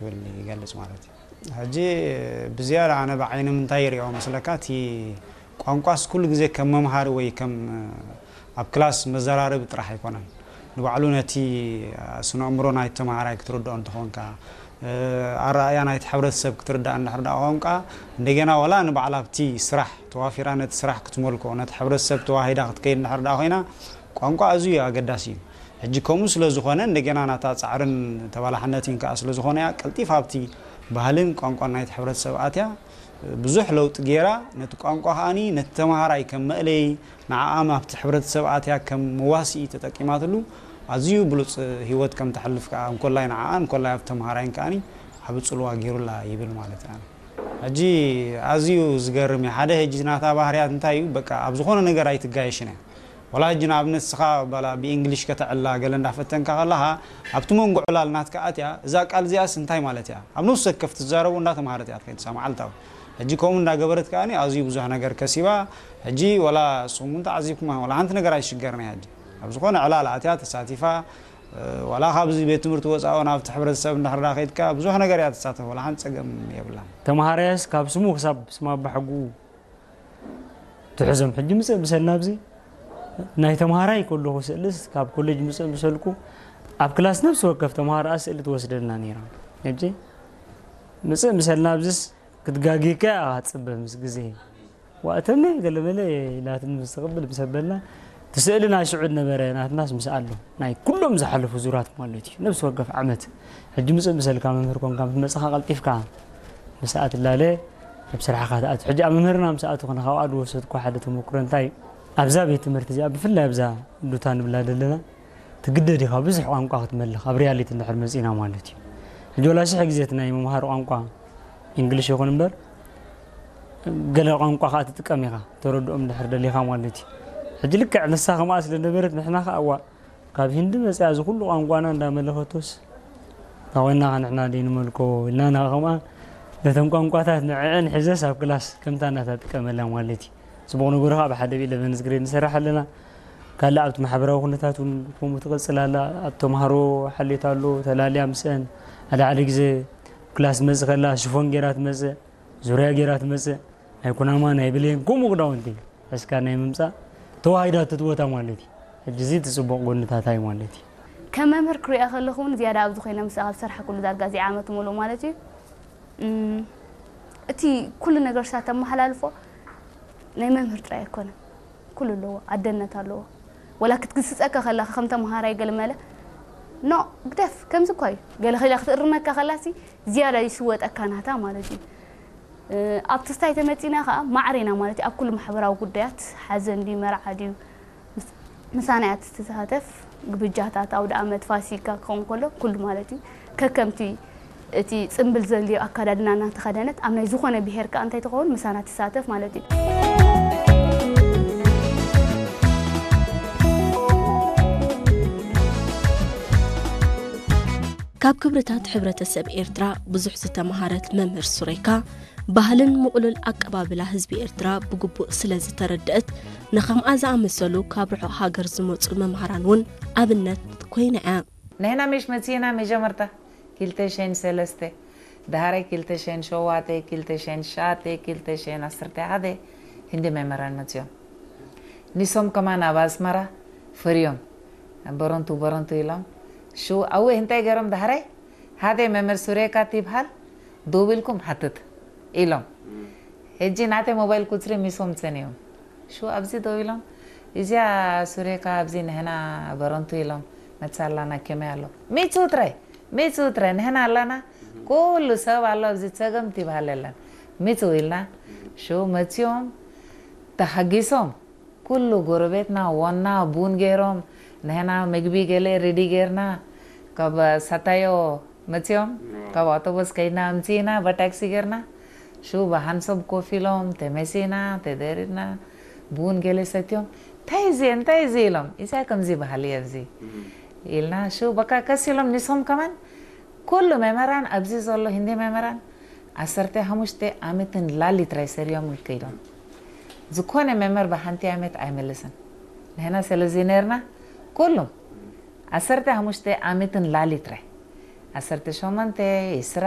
ይብል ይገልጽ ማለት እዩ። ሕጂ ብዝያዳ ኣነ ብዓይኒ ምንታይ ይሪኦ መስለካ፣ እቲ ቋንቋስ ኩሉ ግዜ ከም መምሃሪ ወይ ከም ኣብ ክላስ መዘራረቢ ጥራሕ ኣይኮነን። ንባዕሉ ነቲ ስነ ኣእምሮ ናይቲ ተምሃራይ ክትርድኦ እንተኾንካ፣ ኣረኣእያ ናይቲ ሕብረተሰብ ክትርዳእ እንድሕር ደኣ ቋንቋ እንደገና ዋላ ንባዕላ ኣብቲ ስራሕ ተዋፊራ ነቲ ስራሕ ክትመልኮ፣ ነቲ ሕብረተሰብ ተዋሂዳ ክትከይድ እንድሕር ደኣ ኮይና፣ ቋንቋ ኣዝዩ ኣገዳሲ እዩ። ሕጂ ከምኡ ስለ ዝኾነ እንደገና ናታ ጻዕርን ተባላሕነትን ከኣ ስለ ዝኾነ እያ ቀልጢፋ ኣብቲ ባህልን ቋንቋን ናይቲ ሕብረተሰብ ኣትያ ብዙሕ ለውጢ ገይራ፣ ነቲ ቋንቋ ከኣኒ ነቲ ተምሃራይ ከም መእለዪ፣ ንዓኣ ኣብቲ ሕብረተሰብ ኣትያ ከም መዋስኢ ተጠቂማትሉ ኣዝዩ ብሉጽ ህይወት ከም ተሕልፍ ከኣ እንኮላይ ንዓኣ እንኮላይ ኣብ ተምሃራይን ከኣኒ ዓቢ ጽልዋ ገይሩላ ይብል ማለት እዩ። ሕጂ ኣዝዩ ዝገርም እዩ። ሓደ ሕጂ ናታ ባህርያት እንታይ እዩ? በቃ ኣብ ዝኾነ ነገር ኣይትጋየሽን እያ። ወላ ሕጂ ንኣብነት ንስኻ ባላ ብእንግሊሽ ከተዕላ ገለ እንዳፈተንካ ከለኻ ኣብቲ መንጎ ዕላል ናትካ ኣትያ እዛ ቃል እዚኣስ እንታይ ማለት እያ? ኣብ ነፍሲ ወከፍ ትዛረቦ እንዳተምሃረት እያ ትኸይድ እሳ መዓልታዊ። ሕጂ ከምኡ እንዳገበረት ከኣኒ ኣዝዩ ብዙሕ ነገር ከሲባ። ሕጂ ወላ ንስኹም እውን ተዓዚብኩማ ወላ ሓንቲ ነገር ኣይትሽገርን እያ። ሕጂ ኣብ ዝኾነ ዕላል ኣትያ ተሳቲፋ፣ ዋላ ካብዚ ቤት ትምህርቲ ወፃኢ እውን ኣብቲ ሕብረተሰብ እንድሕር ዳ ከይድካ ብዙሕ ነገር እያ ትሳተፍ፣ ዋላ ሓንቲ ፀገም የብላን። ተምሃራይስ ካብ ስሙ ክሳብ ስም ኣባሕጉኡ ትሕዞም። ሕጂ ምፅእ ምሰልና ኣብዚ ናይ ተምሃራይ ከለኹ ስእልስ ካብ ኮሌጅ ምፅእ ምሰልኩ ኣብ ክላስ ነፍሲ ወከፍ ተምሃሮኣ ስእሊ ትወስደልና ነይራ። ሕጂ ምፅእ ምሰልና ኣብዚስ ክትጋግየካ እያ ትፅበ ምስ ግዜ። ዋእተመ ገለመለ ኢላትኒ ምስ ትቕብል ምስ ኣበልና እቲ ስእሊ ናይ ሽዑ ዝነበረ ናትናስ ምስ ኣሎ ናይ ኩሎም ዝሓለፉ ዙራት ማለት እዩ። ነፍሲ ወከፍ ዓመት ሕጂ ምፅእ ምሰልካ መምህር ኮንካ ምስ መፅኻ ቀልጢፍካ ምስኣ ትላለ ኣብ ስራሕኻ ትኣቱ። ሕጂ ኣብ መምህርና ምስ ኣትኹ ንኻብኣ ዝወሰድኩ ሓደ ተመክሮ እንታይ ኣብዛ ቤት ትምህርቲ እዚኣ ብፍላይ ኣብዛ ሉታ ንብላ ዘለና ትግደድ ኢኻ ብዙሕ ቋንቋ ክትመልኽ ኣብ ሪያሊቲ እንድሕር መፂና ማለት እዩ። ሕጂ ወላ ሽሕ ግዜ እቲ ናይ ምምሃር ቋንቋ እንግሊሽ ይኹን እምበር ገለ ቋንቋ ከዓ ትጥቀም ኢኻ ተረድኦም እንድሕር ደሊኻ ማለት እዩ። ሕጂ ልክዕ ንሳ ከምኣ ስለ ነበረት ንሕና ከዓ እዋ ካብ ሂንዲ መፅያ እዚ ኩሉ ቋንቋና እንዳመለኸቶስ ታኾይና ንሕና ደይ ንመልኮ ኢልና ና ከምኣ ነተን ቋንቋታት ንዕዐን ሕዘስ ኣብ ክላስ ከምታ እናታ ጥቀመላ ማለት እዩ። ፅቡቕ ነገሩ ከዓ ብሓደ ብኢለቨንስ ግሬድ ንሰርሕ ኣለና። ካልእ ኣብቲ ማሕበራዊ ኩነታት እውን ከምኡ ትቕፅል ኣላ። ኣብ ተምሃሮ ሓልዮት ኣሎ ተላልያ ምስአን ሓደ ሓደ ግዜ ክላስ ትመፅእ ከላ ሽፎን ገይራ ትመፅእ፣ ዙርያ ገይራ ትመፅእ፣ ናይ ኩናማ ናይ ብሌን ከምኡ ክዳውንቲ ሒዝካ ናይ ምምፃእ ተዋሂዳቶ እቲ ቦታ ማለት እዩ። ሕጂ እዚ እቲ ፅቡቕ ጎንታታ እዩ ማለት እዩ። ከም መምህር ክሪኣ ከለኹ እውን ዝያዳ ኣብዚ ኮይነ ምስኣ ካብ ዝሰርሓ ኩሉ ዳርጋ እዚ ዓመት ሙሉእ ማለት እዩ። እም፣ እቲ ኩሉ ነገር ንሳ ተመሓላልፎ ናይ መምህር ጥራይ ኣይኮነን። ኩሉ ኣለዎ፣ ኣደነት ኣለዎ። ወላ ክትግስጸካ ከላ ከም ተምሃራይ ገለ መለ ኖ ግደፍ ከምዚ እኳ እዩ ገለ ከላ ክትእርመካ ከላሲ ዝያዳ ይስወጠካ ናታ ማለት እዩ። እ፣ ኣብ ትስታይ ተመጺና ከኣ ማዕሬና ማለት እዩ። ኣብ ኩሉ ማሕበራዊ ጉዳያት ሓዘን ድዩ መርዓ ድዩ ምስ-፣ ምሳና እያ ትሳተፍ። ግብጃታት ኣውደ ኣመት ፋሲካ ክኸውን ከሎ ኩሉ ማለት እዩ። ከከምቲ እቲ ጽምብል ዘልዮ ኣካዳድና እናተኸደነት ኣብ ናይ ዝኾነ ብሄር ከኣ እንታይ ትኸውን ምሳና ትሳተፍ ማለት እዩ። ካብ ክብርታት ሕብረተሰብ ኤርትራ ብዙሕ ዝተመሃረት መምህር ሱሬካ፣ ባህልን ምቕሉል ኣቀባብላ ህዝቢ ኤርትራ ብግቡእ ስለ ዝተረደአት፣ ንኸምኣ ዝኣመሰሉ ካብ ርሑቕ ሃገር ዝመጹ መምሃራን እውን ኣብነት ኮይና እያ። ንሕና ምሽ መጺእና መጀመርታ ክልተ ሽሕን ሰለስተ፣ ድሃረ ክልተ ሽሕን ሸውዓተ፣ ክልተ ሽሕን ትሽዓተ፣ ክልተ ሽሕን ዓሰርተ ሓደ ህንዲ መምህራን መጺኦም። ንሶም ከማን ኣብ ኣስመራ ፈርዮም በረንቱ በረንቱ ኢሎም። ሽው ኣወ እንታይ ገይሮም ድሃረ ሓደ መምህር ሱሬካ ትብሃል ደው ኢልኩም ሓትት ኢሎም። ሕጂ ናተይ ሞባይል ቁጽሪ ሚሶም ጸኒዮም። ሽው ኣብዚ ደው ኢሎም እዚኣ ሱሬካ ኣብዚ ንሕና በረንቱ ኢሎም መጻ ኣላና ከመይ ኣሎ? ምጹ ጥራይ ምጹ ጥራይ ንሕና ኣላና ኩሉ ሰብ ኣሎ ኣብዚ ጸገም ትብሃል የለን። ምጹ ኢልና ሽው መጺኦም ተሓጊሶም ኩሉ ጎረቤትና ዋና ቡን ገይሮም ንሕና ምግቢ ገለ ሬዲ ገይርና ካብ ሳታዮ መጺኦም ካብ ኣውቶቡስ ከይድና ኣምጺእና ብታክሲ ገይርና ሽው ብሓንሶብ ኮፍ ኢሎም ተመሲና ተደሪድና ቡን ገለ ሰትዮም እንታይ እዚ እንታይ እዚ ኢሎም እዚኣ ከምዚ በሃሊ እያ እዚ ኢልና ሽው በቃ ከሲሎም ንሶም ከማን ኩሉ መምህራን ኣብዚ ዘሎ ህንዲ መምህራን ዓሰርተ ሓሙሽተ ዓመትን ላሊ ጥራይ ሰሪዮም ከይዶም ዝኾነ መምህር ብሓንቲ ዓመት ኣይመልስን ንሕና ስለዚ ነርና ኩሉም ዓሰርተ ሓሙሽተ ዓመትን ላሊ ጥራይ ዓሰርተ ሸሞንተ፣ ዕስራ፣